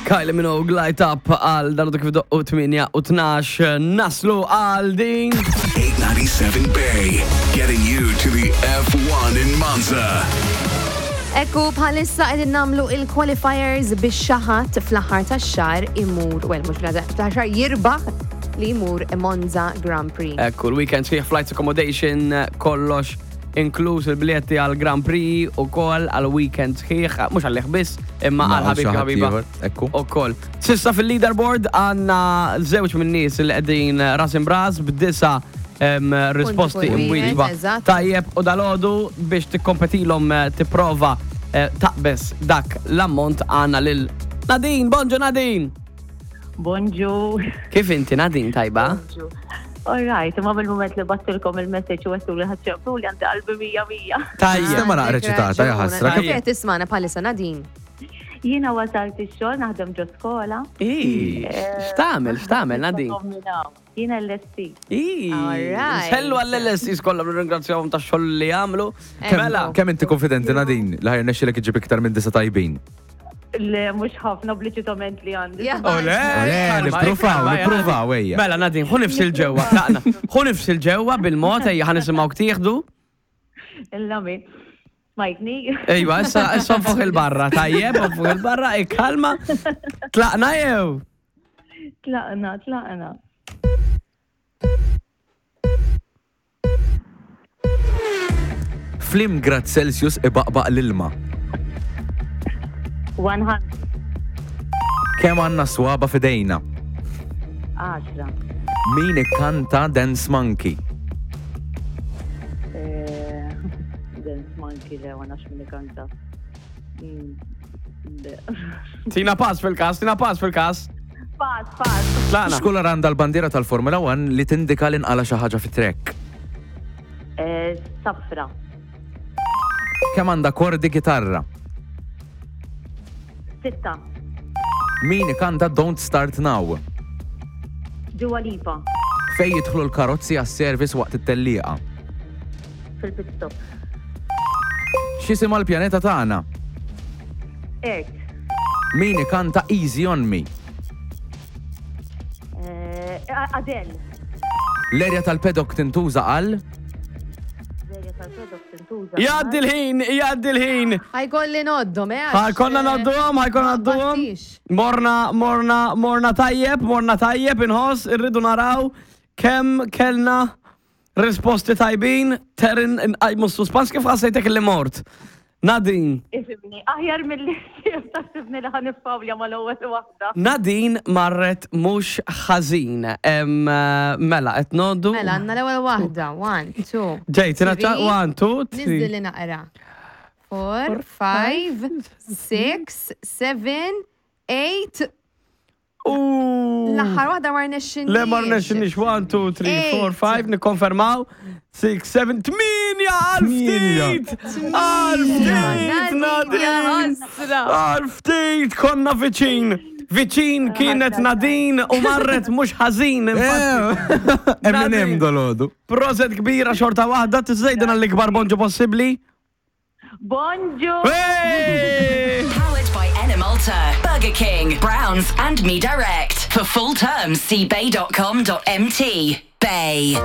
Kylie Minogue Light Up għal dal kif doqqu 8 u 12 naslu għal din. 897 Bay, getting you to the F1 in Monza. Ekku bħalissa qegħdin nagħmlu il-qualifiers biex xi ħadd fl-aħħar tax-xahar imur, well mhux fl-aħħar tax-xahar jirbaħ li jmur Monza Grand Prix. Ekku, l-weekend sħiħ flights accommodation kollox inkluż il-biljetti għal Grand Prix u kol għal weekend sħiħ, mhux għal biss, imma għal ħabib ħabiba. Ekku. U kol. Sissa fil-leaderboard għanna żewġ minn nies li qegħdin ras imbras b'disa risposti kull wieħed, imwieġba. eżatt. Tajjeb u dalodu biex tikkompetilhom eh, tipprova eh, taqbes dak l-ammont għanna lil Nadine, bonġu Nadine! Bonġu. Kif inti Nadine tajba? Bonġu. All right, imma mill-moment li battilkom il-message u għettu li ħadċemplu li għandi qalbi mija mija. Tajjeb. Sistema naqra ċitata, ja ħasra. Kif qed tismana bħalissa Nadine? Jiena wasalt ix-xogħol naħdem ġo skola. Ii, X'tagħmel, x'tagħmel Nadine? Jiena l-LST. Ii, Alright. Sellu għall-LSIs kollha nirringrazzjahom tax-xogħol li jagħmlu. Mela, Kemm inti konfidenti Nadine li ħajr nexxilek iġib iktar minn disa tajbin? Le, mhux ħafna obliċitament li għandi. Ja. Ole, Ole, nippruvaw, nippruvaw, ejja. Mela, Nadine, ħu nifs il-ġewwa, tlaqna. Ħu nifs il-ġewwa bil-mod, ejja ħa nisimgħu tieħdu. Illami. Smajtni? Ejwa, issa issa fuq il-barra, tajjeb, fuq il-barra, ikkalma. Tlaqna jew? Tlaqna, tlaqna. Flim grad Celsius ibaqbaq l-ilma. 100. Kemm għandna swaba fidejna? 10. Min ikkanta Dance Monkey? Eh, Dance Monkey le, ma nafx min ikanta. Mm, le. Tina pass fil-kas, tina pass fil-kas. Pass, pass. Tlaqna. X'kulur għandha l-bandiera tal-Formula 1 li tindika li nqala xi ħaġa fit-trek? Eh, Safra. Kemm għandha kordi kitarra? Sitta. Min ikanta Don't Start Now? Dua Lipa. Fej jidħlu l-karozzi għas-service waqt it-tellieqa? Fil-pit stop. X'isimha l-pjaneta tagħna? Earth. Min ikanta Easy on Me? Eh, Adele. L-erja tal-pedok tintuża għal? L-erja tal-pedok tintuża. Jgħaddi l-ħin, jgħaddi l-ħin. Ħajkolli noddhom, eh? għax, Ħajkonna eh, nadduhom, ħajkonna nadduhom. battix. Morna, morna, morna tajjeb, morna tajjeb, inħoss, irridu naraw kemm kellna risposti tajbin, terin nqajmu s-suspans kif ħassejtek li mort. Nadine, Ifimni, aħjar mill-li taħsibni li ħanifawlja mal-ewwel waħda. Nadine marret mhux ħażin. Em, eh, Mela, qed noddu. Mela, għandna l-ewwel waħda. One, two. Ġejt, three. 1, 2, 3. Niżdili naqra. Four, five, six, seven, eight. L-aħħar waħda ma rnexxinniex. Le ma rnexxinniex 1, 2, 3, 4, 5, nikkonfermaw. 6, 7, 8 għal ftit! Għal ftit, Nadine! ħasra. Għal ftit, konna viċin! Viċin kienet Nadine u marret mhux ħażin. infatti. Eminem dolodu. Proset kbira xorta waħda, tiżejdin għall-ikbar bonġu possibbli. Bonġu! Hey! Powered by Enemalta, Burger King, Browns, and Me Direct. For full terms, see bay.com.mt. Bay.